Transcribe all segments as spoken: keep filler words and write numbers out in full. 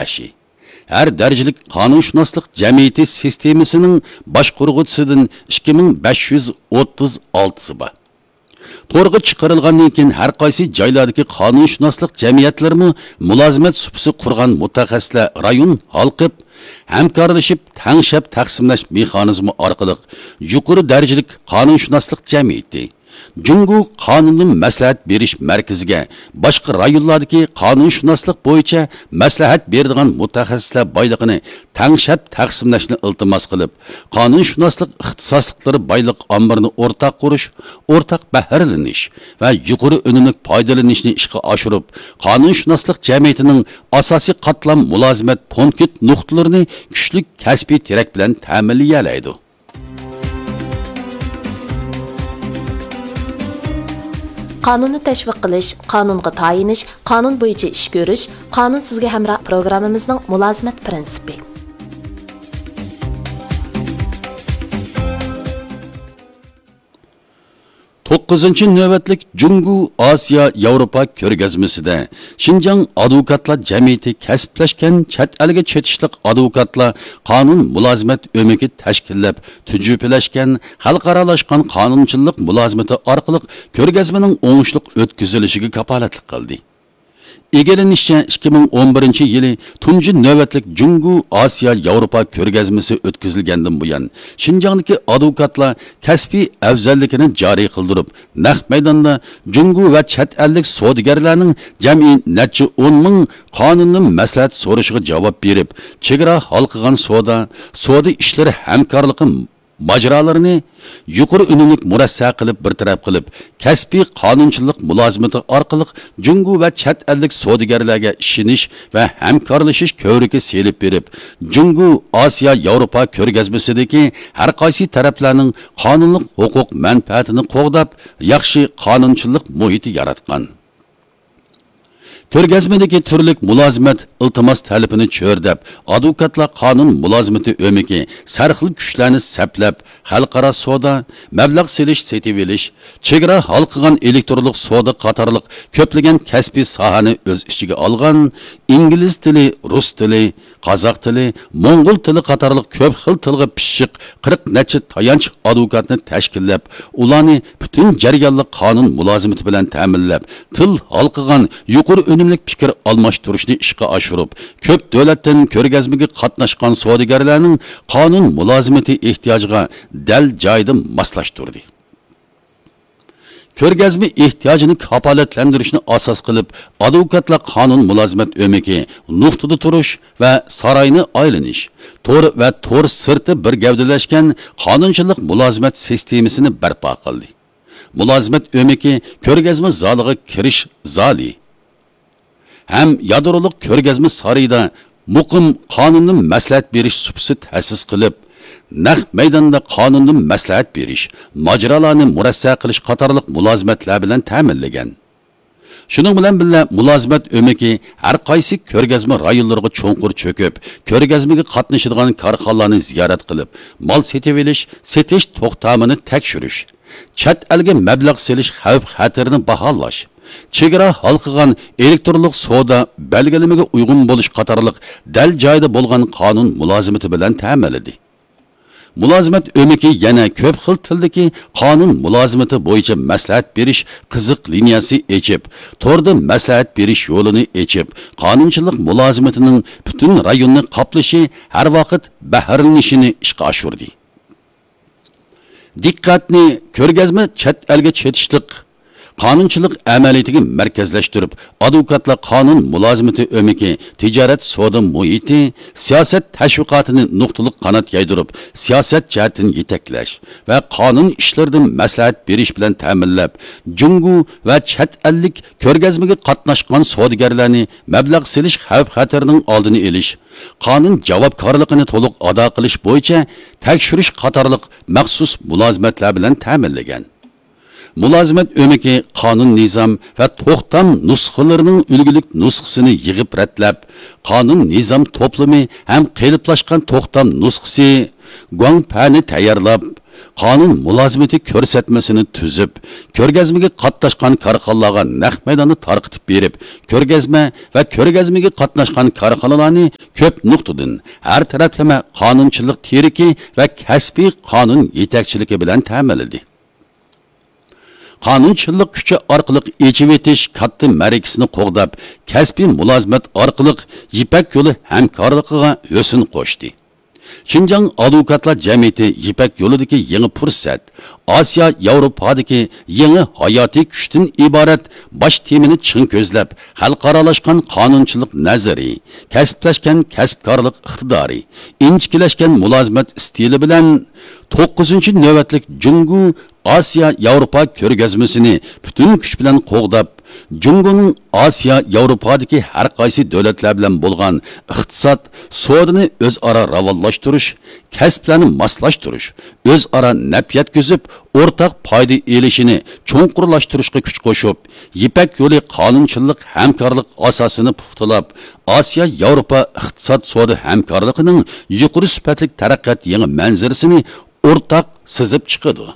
قارشى. ھەر دەرىجىلىك قانۇنشۇناسلىق جەمئىيىتى سىستېمىسىنىڭ باشقۇرغۇچىسىدىن ئىككى مىڭ بەش يۈز ئوتتۇز ئالتىسى بار. تورغا چىقىرىلغاندىن كېيىن، ھەر قايسى جايلاردىكى قانۇنشۇناسلىق جەمئىيەتلىرىمۇ مۇلازىمەت سۇپىسى قۇرغان مۇتەخەسسىسلەر رايون ھالقىپ، ھەمكارلىشىپ، تەڭشەپ تەقسىملەش مېخانىزمى ئارقىلىق يۇقىرى دەرىجىلىك قانۇنشۇناسلىق جەمئىيىتى، جۇڭگو قانۇندىن مەسلىھەت بېرىش مەركىزىگە باشقا رايونلاردىكى قانۇنشۇناسلىق بويىچە مەسلىھەت بېرىدىغان مۇتەخەسسىسلەر بايلىقىنى تەڭشەپ تەقسىملەشنى ئىلتىماس قىلىپ، قانۇنشۇناسلىق ئىختىساسلىقلىرى بايلىق ئامبىرىنى ئورتاق قۇرۇش، ئورتاق بەھرىلىنىش ۋە يۇقىرى ئۈنۈملۈك پايدىلىنىشنى ئىشقا ئاشۇرۇپ، قانۇنشۇناسلىق جەمئىيىتىنىڭ ئاساسىي قاتلام مۇلازىمەت پونكىت نۇقتىلىرىنى كۈچلۈك كەسپىي تىرەك بىلەن تەمىنلىيەلەيدۇ. قانۇننى تەشۋىق قىلىش، قانۇنغا تايىنىش، قانۇن بويىچە ئىش كۆرۈش، قانۇن سىزگە ھەمراھ پروگراممىمىزنىڭ مۇلازىمەت پىرىنسىپى. توققۇزىنچى نۆۋەتلىك جۇڭگو ئاسىيا ياۋروپا كۆرگەزمىسىدە شىنجاڭ ئادۋوكاتلار جەمئىيىتى كەسىپلەشكەن چەت ئەلگە چېتىشلىق ئادۋوكاتلار قانۇن مۇلازىمەت ئۆمىكى تەشكىللەپ، تۈجۈپىلەشكەن، خەلقئارالاشقان قانۇنچىلىق مۇلازىمىتى ئارقىلىق كۆرگەزمىنىڭ ئوڭۇشلۇق ئۆتكۈزۈلۈشىگە كاپالەتلىك قىلدى. ئىگىلىنىشىچە، ئىككى مىڭ ئون بىرىنچى يىلى تۇنجى نۆۋەتلىك جۇڭگو ئاسىيا ياۋروپا كۆرگەزمىسى ئۆتكۈزۈلگەندىن بۇيان، شىنجاڭدىكى ئادۋوكاتلار كەسپىي ئەۋزەللىكىنى جارى قىلدۇرۇپ، نەق مەيداندا جۇڭگو ۋە چەت ئەللىك سودىگەرلەرنىڭ جەمئىي نەچچە ئون مىڭ قانۇندىن مەسلىھەت سورىشىغا جاۋاب بېرىپ، چېگرا ھالقىغان سودا، سودا ئىشلىرى ھەمكارلىقى ماجىرالىرىنى يۇقىرى ئۈنۈملۈك مۇرەسسە قىلىپ بىر تەرەپ قىلىپ، كەسپىي قانۇنچىلىق مۇلازىمىتى ئارقىلىق جۇڭگو ۋە چەت ئەللىك سودىگەرلەرگە ئىشىنىش ۋە ھەمكارلىشىش كۆۋرۈكى سېلىپ بېرىپ، جۇڭگو ئاسىيا ياۋروپا كۆرگەزمىسىدىكى ھەر قايسى تەرەپلەرنىڭ قانۇنلۇق ھوقۇق مەنپەئەتىنى قوغداپ، ياخشى قانۇنچىلىق مۇھىتى ياراتقان. كۆرگەزمىدىكى تۈرلۈك مۇلازىمەت ئىلتىماس تەلىپىنى چۆرىدەپ، ئادۋوكاتلار قانۇن مۇلازىمىتى ئۆمىكى سەرخىل كۈچلەرنى سەپلەپ، خەلقئارا سودا، مەبلەغ سېلىش، سېتىۋېلىش، چېگرا ھالقىغان ئېلېكترونلۇق سودا قاتارلىق كۆپلىگەن كەسپىي ساھەنى ئۆز ئىچىگە ئالغان، ئىنگلىز تىلى، رۇس تىلى، قازاق تىلى، موڭغۇل تىلى قاتارلىق كۆپ خىل تىلغا پىششىق قىرىق نەچچە تايانچ ئادۋوكاتنى تەشكىللەپ، ئۇلارنى پۈتۈن جەريانلىق قانۇن مۇلازىمىتى بىلەن تەمىنلەپ، تىل ھالقىغان يۇقىرى ئۈنۈملۈك پىكىر ئالماشتۇرۇشنى ئىشقا ئاشۇرۇپ، كۆپ دۆلەتتىن كۆرگەزمىگە قاتناشقان سودىگەرلەرنىڭ قانۇن مۇلازىمىتى ئېھتىياجىغا دەل جايىدا ماسلاشتۇردى. كۆرگەزمە ئېھتىياجىنى كاپالەتلەندۈرۈشنى ئاساس قىلىپ، ئادۋوكاتلار قانۇن مۇلازىمەت ئۆمىكى نۇقتىدا تۇرۇش ۋە ساراينى ئايلىنىش، تور ۋە تور سىرتى بىر گەۋدىلەشكەن قانۇنچىلىق مۇلازىمەت سىستېمىسىنى بەرپا قىلدى. مۇلازىمەت ئۆمىكى كۆرگەزمە زالىغا كىرىش زالى ھەم يادرولۇق كۆرگەزمە سارىيىدا مۇقىم قانۇندىن مەسلىھەت بېرىش سۇپىسى تەسىس قىلىپ، نەق مەيداندا قانۇندىن مەسلىھەت بېرىش، ماجىرالارنى مۇرەسسە قىلىش قاتارلىق مۇلازىمەتلەر بىلەن تەمىنلىگەن. شۇنىڭ بىلەن بىللە، مۇلازىمەت ئۆمىكى ھەر قايسى كۆرگەزمە رايونلىرىغا چوڭقۇر چۆكۈپ، كۆرگەزمىگە قاتنىشىدىغان كارخانىلارنى زىيارەت قىلىپ، مال سېتىۋېلىش، سېتىش توختامىنى تەكشۈرۈش، چەت ئەلگە مەبلەغ سېلىش خەۋپ-خەتىرىنى باھالاش، چېگرا ھالقىغان ئېلېكترونلۇق سودا بەلگىلىمىگە ئۇيغۇن بولۇش قاتارلىق دەل جايىدا بولغان قانۇن مۇلازىمىتى بىلەن تەمىنلىدى. مۇلازىمەت ئۆمىكى يەنە كۆپ خىل تىلدىكى قانۇن مۇلازىمىتى بويىچە مەسلىھەت بېرىش قىزىق لىنىيەسى ئېچىپ، توردا مەسلىھەت بېرىش يولىنى ئېچىپ، قانۇنچىلىق مۇلازىمىتىنىڭ پۈتۈن رايوننى قاپلىشى، ھەر ۋاقىت بەھرىلىنىشىنى ئىشقا ئاشۇردى. دىققەتنى كۆرگەزمە چەت ئەلگە چېتىشلىق قانۇنچىلىق ئەمەلىيىتىگە مەركەزلەشتۈرۈپ، ئادۋوكاتلار قانۇن مۇلازىمىتى ئۆمىكى تىجارەت سودا مۇھىتى، سىياسەت تەشۋىقاتىنى نۇقتىلىق قانات يايدۇرۇپ، سىياسەت جەھەتتىن يېتەكلەش ۋە قانۇن ئىشلىرىدا مەسلىھەت بېرىش بىلەن تەمىنلەپ، جۇڭگو ۋە چەت ئەللىك كۆرگەزمىگە قاتناشقان سودىگەرلەرنى مەبلەغ سېلىش خەۋپ-خەتىرىنىڭ ئالدىنى ئېلىش، قانۇن جاۋابكارلىقىنى تولۇق ئادا قىلىش بويىچە تەكشۈرۈش قاتارلىق مەخسۇس مۇلازىمەتلەر بىلەن تەمىنلىگەن. مۇلازىمەت ئۆمىكى قانۇن نىزام ۋە توختام نۇسخىلىرىنىڭ ئۈلگىلىك نۇسخىسىنى يىغىپ رەتلەپ، قانۇن نىزام توپلىمى ھەم قېلىپلاشقان توختام نۇسخىسى، گۇاڭپەنى تەييارلاپ، قانۇن مۇلازىمىتى كۆرسەتمىسىنى تۈزۈپ، كۆرگەزمىگە قاتناشقان كارخانىلارغا نەق مەيداندا تارقىتىپ بېرىپ، كۆرگەزمە ۋە كۆرگەزمىگە قاتناشقان كارخانىلارنى كۆپ نۇقتىدىن ھەر تەرەپلىمە قانۇنچىلىق تىرىكى ۋە كەسپىي قانۇن يېتەكچىلىكى بىلەن تەمىنلىدى. قانۇنچىلىق كۈچى ئارقىلىق ئېچىۋېتىش كاتتا مەرىكىسىنى قوغداپ، كەسپىي مۇلازىمەت ئارقىلىق يىپەك يولى ھەمكارلىقىغا ھۆسن قوشتى. شىنجاڭ ئادۋوكاتلار جەمئىيىتى يىپەك يولىدىكى يېڭى پۇرسەت، ئاسىيا ياۋروپادىكى يېڭى ھاياتىي كۈچتىن ئىبارەت باش تېمىنى چىڭ كۆزلەپ، خەلقئارالاشقان قانۇنچىلىق نەزىرى، كەسىپلەشكەن كەسىپكارلىق ئىقتىدارى، ئىنچىكىلەشكەن مۇلازىمەت ئىستىلى بىلەن توققۇزىنچى نۆۋەتلىك جۇڭگو ئاسىيا ياۋروپا كۆرگەزمىسىنى پۈتۈن كۈچ بىلەن قوغداپ، جۇڭگونىڭ ئاسىيا ياۋروپادىكى ھەر قايسى دۆلەتلەر بىلەن بولغان ئىقتىساد، سودىنى ئۆزئارا راۋانلاشتۇرۇش، كەسىپلەرنى ماسلاشتۇرۇش، ئۆزئارا نەپ يەتكۈزۈپ، ئورتاق پايدا ئېلىشىنى چوڭقۇرلاشتۇرۇشقا كۈچ قوشۇپ، يىپەك يولى قانۇنچىلىق ھەمكارلىق ئاساسىنى پۇختىلاپ، ئاسىيا ياۋروپا ئىقتىساد سودا ھەمكارلىقىنىڭ يۇقىرى سۈپەتلىك تەرەققىيات يېڭى مەنزىرىسىنى ئورتاق سىزىپ چىقىدۇ.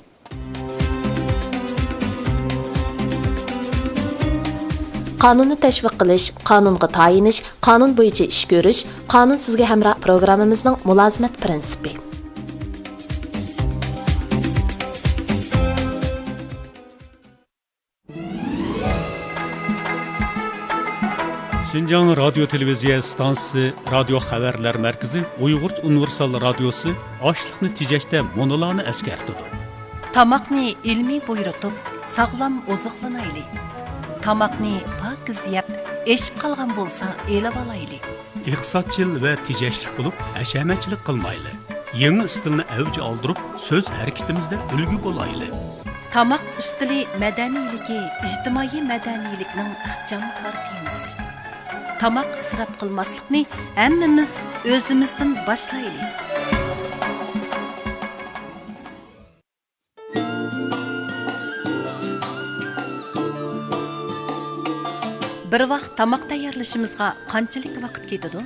قانۇننى تەشۋىق قىلىش، قانۇنغا تايىنىش، قانۇن بويىچە ئىش كۆرۈش، قانۇن سىزگە ھەمراھ پروگراممىمىزنىڭ مۇلازىمەت پىرىنسىپى. شىنجاڭ رادىيو تېلېۋىزىيە ئىستانسىسى رادىيو خەۋەرلەر مەركىزى ئۇيغۇرچە ئۇنىۋېرسال رادىيوسى ئاشلىقنى تېجەشتە مۇنۇلارنى ئەسكەرتىدۇ. تاماقنى ئىلمىي بۇيرۇتۇپ، ساغلام ئوزۇقلىنايلى. تاماقنى پاكىز يەپ، ئېشىپ قالغان بولسا ئېلىۋالايلى. ئىقتىسادچىل ۋە تېجەشلىك بولۇپ، ھەشەمەتچىلىك قىلمايلى. يېڭى ئىستىلنى ئەۋج ئالدۇرۇپ، سۆز ھەرىكىتىمىزدە ئۈلگە بولايلى. تاماق ئۈستىلى مەدەنىيلىكى ئىجتىمائىي مەدەنىيلىكنىڭ ئىخچام كارتىنىسى. تاماق ئىسراپ قىلماسلىقنى ھەممىمىز ئۆزىمىزدىن باشلايلى. بىر ۋاق تاماق تەييارلىشىمىزغا قانچىلىك ۋاقىت كېتىدۇ؟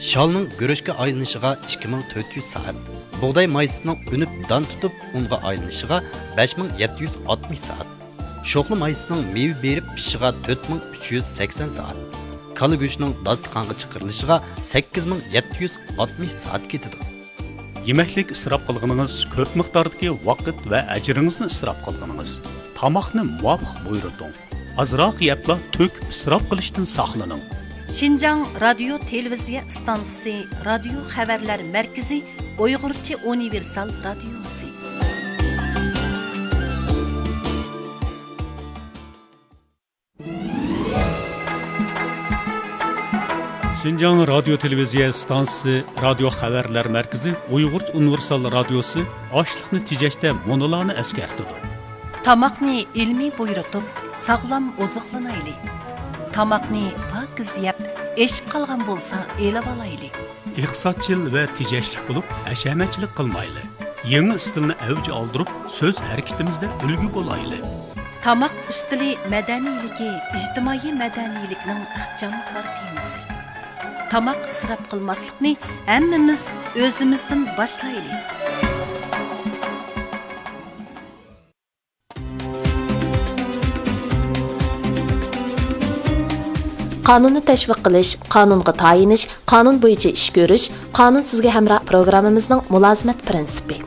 شالنىڭ گۈرۈچكە ئايلىنىشىغا ئىككى مىڭ تۆت يۈز سائەت، بۇغداي مايسىسىنىڭ ئۈنۈپ دان تۇتۇپ ئۇنغا ئايلىنىشىغا بەش مىڭ يەتتە يۈز ئاتمىش سائەت، شوخلا مايسىسىنىڭ مېۋە بېرىپ پىشىشىغا تۆت مىڭ ئۈچ يۈز سەكسەن سائەت، كالا گۆشىنىڭ داستىخانغا چىقىرىلىشىغا سەككىز مىڭ يەتتە يۈز ئاتمىش سائەت كېتىدۇ. يېمەكلىك ئىسراپ قىلغىنىڭىز كۆپ مىقداردىكى ۋاقىت ۋە ئەجرىڭىزنى ئىسراپ قىلغىنىڭىز. تاماقنى مۇۋاپىق بۇيرۇتۇڭ. ئازراق يەپلا تۆكۈپ ئىسراپ قىلىشتىن ساقلىنىڭ. شىنجاڭ رادىيو تېلېۋىزىيە ئىستانسىسى رادىيو خەۋەرلەر مەركىزى ئۇيغۇرچە ئۇنىۋېرسال رادىيوسى. شىنجاڭ رادىيو تېلېۋىزىيە ئىستانسىسى رادىيو خەۋەرلەر مەركىزى ئۇيغۇرچە ئۇنىۋېرسال رادىيوسى ئاشلىقنى تېجەشتە مۇنۇلارنى ئەسكەرتىدۇ. تاماقنى ئىلمىي بۇيرۇتۇپ، ساغلام ئوزۇقلىنايلى. تاماقنى پاكىز يەپ، ئېشىپ قالغان بولسا ئېلىۋالايلى. ئىقتىسادچىل ۋە تېجەشلىك بولۇپ، ھەشەمەتچىلىك قىلمايلى. يېڭى ئىستىلنى ئەۋج ئالدۇرۇپ، سۆز ھەرىكىتىمىزدە ئۈلگە بولايلى. تاماق ئۈستىلى مەدەنىيلىكى ئىجتىمائىي مەدەنىيلىكنىڭ ئىخچام كارتىنىسى. تاماق ئىسراپ قىلماسلىقنى ھەممىمىز ئۆزىمىزدىن باشلايلى. قانۇننى تەشۋىق قىلىش، قانۇنغا تايىنىش، قانۇن بويىچە ئىش كۆرۈش، قانۇن سىزگە ھەمراھ پروگراممىمىزنىڭ مۇلازىمەت پىرىنسىپى.